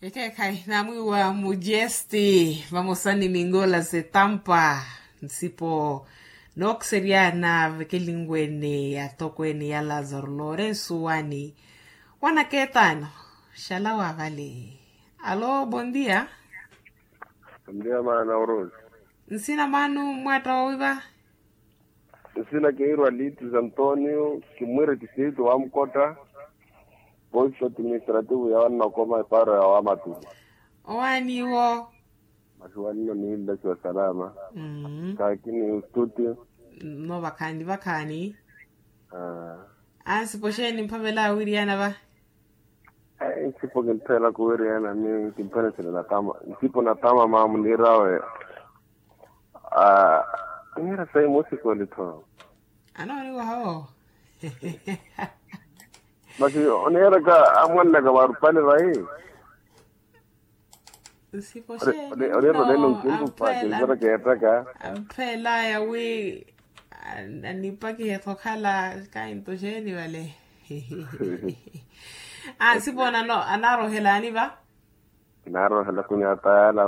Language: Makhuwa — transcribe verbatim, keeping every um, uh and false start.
Ekeekhayi naamwiiwa mujesti vamosa ni mingola zetampa nsipo nookuseryana vekelinwene yatokweene ya lazaro lorensu wani. Wanakeetaano xalawa vale. Alo bondia. Bondia maana orosi. Nsina maanu mwatta wowiva. Nsina keirwa litis antonio kimwire tisiitu wa mukotta. Posto administrativo ya wannokoma eparo ya wamatu. Owaaniwo. Masi wanno niillaciwa salama. Kaakini ustuti. No vakhaani vakhaani. Ansipo xeeni mphavela wiriana va. Nsipo kintthela kuwiriyana ni kimphenesele natama nsipo natama maamu niirawe. Niira sayi musikweli tho. Anooniwaha wo. Masi oniiraka amwannaka varupale vayi. Nsipo xeeni no amphela. Amphelaya wi anipakihe thokhala kainto xeeni vale. Ansipo nano anarohelani va. Narohela kunyata yala.